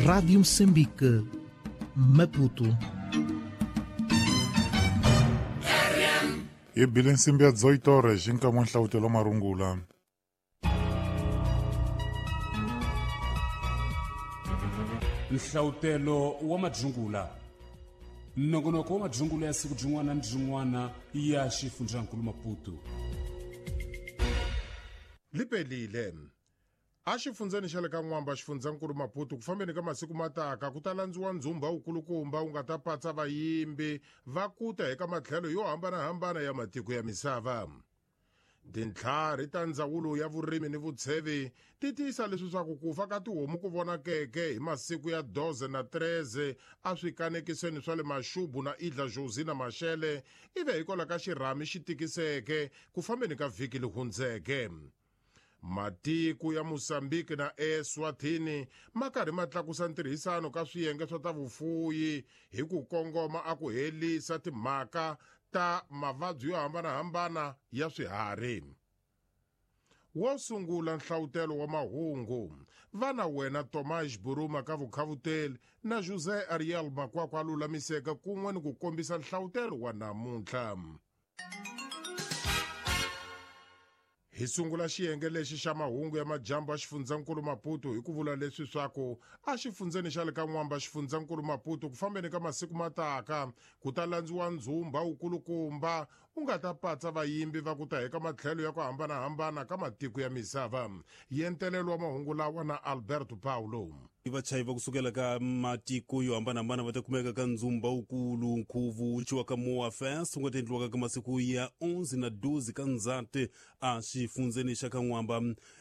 Rádio Moçambique, Maputo. Hi bile nsimbi ya 18 horas hi nkama nhlavutelo marungula. Nhlavutelo wa madzungula. Nongonoko wa madzungula ya siku byin'wana ni byin'wana ya xifundzankulu Maputo. Lipelile. A xifundzeni xa le ka N'wamba xifundzankulu Maputo ku fambeni ka masiku mataka ku ta landziwa ndzumba wukulukumba wu nga ta patsa vayimbi va kuta eka matlhelo yo hambanahambana ya matiko ya misava. Tintlhari ta ndzawulo ya vurimi ni vutshevi ti tiyisa leswi swa ku ku fa ka tihomu ku vonakeke hi masiku ya 12 na 13 a swikanekisweni swa le Maxubu na Idla Jozi na Maxele ivi hikwalaho ka xirhami xi tikiseke ku fambeni ka vhiki li hundzeke. Matiko ya Mozambique na Eswatini ma karhi ma tlakusa ntirhisano ka swiyenge swa ta vufuyi hi ku kongoma a ku helisa timhaka ta mavabyi yo hambanahambana ya swiharhi. Wo sungula nhlavutelo wa mahungu vana wena Tomás Buruma ka vukhavuteli na José Ariel Makwakwa lulamiseka kun'we ni ku kombisa nhlavutelo wa namuntlha. Hi sungula xiyenge lexi xa mahungu ya majambu a xifundzankulu Maputo hi ku vula leswi swaku a xifundzeni xa le ka N'wamba xifundzankulu Maputo ku fambeni ka masiku mataka ku ta landziwa ndzumba wukulukumba u nga ta patsa vayimbi va ku ta eka matlhelo ya ku hambanahambana ka matiko ya misava. Yentelelo wa mahungu lawa na Alberto Paulo. Vachayi va kusukela ka matiko yo hambanahambana va ta kumeka ka ndzumba wukulu nkhuvo wu ciwa ka Moa Fest wu nga ta endliwaka ka masiku ya 11 na 12 ka Ndzati a xifundzeni xa ka N'wamba.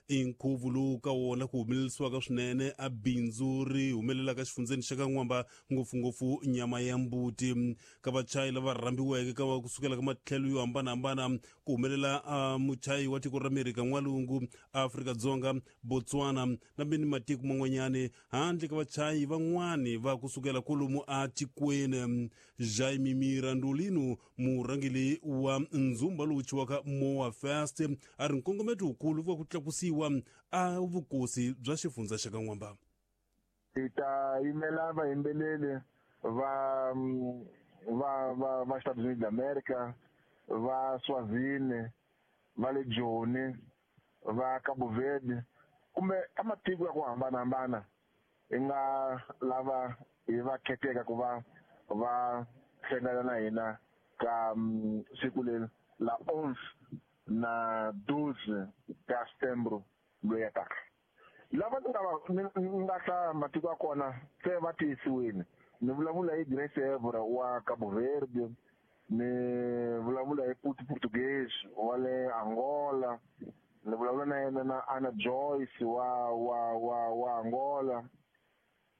I nkhuvo lowu ka wona ku humelerisiwaka swinene a bindzu ri humelelaka xifundzeni xa ka N'wamba ngopfungopfu nyama ya mbuti. Ka vachayi lava rhambiweke ka kusukela ka matlhelo yo hambanahambana ku humelela muchayi wa tiko ra Amerika N'walungu, Afrika-Dzonga, Botswana na mini matiko man'wanyani handle ka vachayi van'wani va kusukela kwalomu a tikweni. Jaime Mirandolino murhangeri wa ndzumba lowu ciwaka Moa Fest a ri nkongometo wukulu wa ku tlakusiwa a vukosi bya xifundza xa ka N'wamba. Hi ta yimela vayimbeleri va va va va Estados Unidos d'America, va Swazini, va le Joni, va Cabo Verde kumbe ka matiko ya ku hambanahambana hi nga lava hi va kheteka ku va va hlangana na hina ka siku leri la 11 na 12 ka Setembro loyi ya taka. Lava ni nga va ni nga hlaya matiko ya kona se va tiyisiwile. Ni vulavula hi Grace Evora wa Cabo Verde, ni vulavula hi Puti Portuguese wa le Angola, ni vulavula na yena na Anna Joyce wa wa wa wa Angola,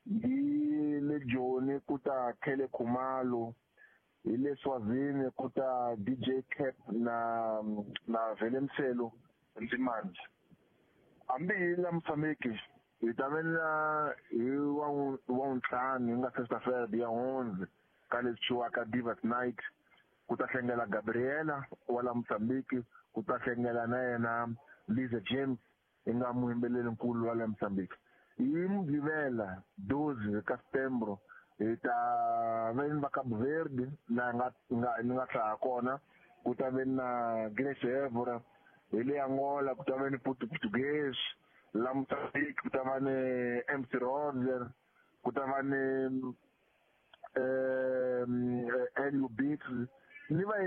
hi le Joni ku ta Khele Khumalo, hi le Swazini ku ta DJ Cap na na Vele Mselo Ndzimandze. Hambi hi la Mozambique hi ta ve na hi wa ntlhanu hi nga sexta-feira ya 11 ka leswi ciwaka Divas Night ku ta hlengela Gabriela wa la Mozambique, ku ta hlengela na yena Liza James hi nga muyimbeleri nkulu wa la Mozambique. Hi Mugqivela 12 ka Setembro hi ta ve ni va Cabo Verde laha nga nga ni nga hlaya kona, ku ta ve na Grace Evora. Hi le Angola ku ta ve ni Portuguese, la Mozambique ku ta va ni MC Roger, ku ta va ni Elio Beats ni va